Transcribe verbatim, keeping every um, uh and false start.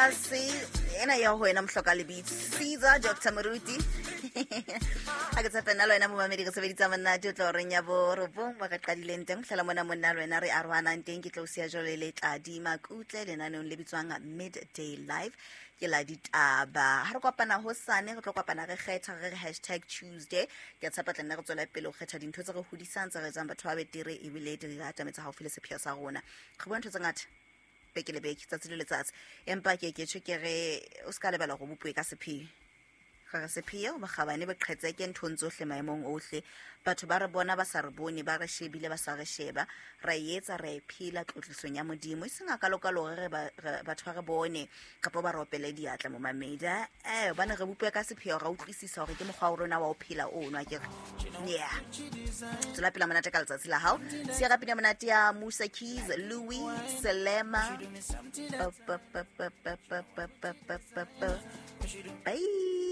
tlase ena ya ho wena mohloka lebitso Caesar Doctor Moruti. Ha ke tshepe nna le wena momamedi re sebeditsa monate o tla horeng ya borobong ba re qadileng teng tlhela mona monna le wena re arohanang teng. Ke tlo o siya jwale le Tladi Makutle lenaneong le bitswang Midday Live ke la ditaba. Ha re kopana hosane re tlo kopana re kgetha re re hashtag Tuesday. Ke a tshepa tla nna re tswela pele ho kgetha dintho tse re hodisang tse re etsang batho ba betere ebile di re atametsa haufi le sepheo sa rona. Re bua ntho tse ngata beke le beke, tsatsi le letsatsi, empa ke ke tjho ke re o ska lebala hore o bopuwe ka sepheo. Re re sepheo bokgabane bo qhetseke nthong tsohle maemong ohle. Batho ba re bona ba sa re bone, ba re shebile ba sa re sheba, ra e etsa ra e phela tlotlisong ya Modimo, e seng hakalo-kalo hore re ba- re- batho ba re bone kapa ba re opele diatla momamedi. Eh, hobane re bopuwe ka sepheo, ra utlwisisa hore ke mokgwa wa rona wa ho phela ono akere. Yeah, tswela pele monate ka letsatsi la hao. Sia ka pina monate ya Musa Keys, Louis Selema. Ba, ba, ba, ba, ba, ba, ba, ba, ba, ba. Bye.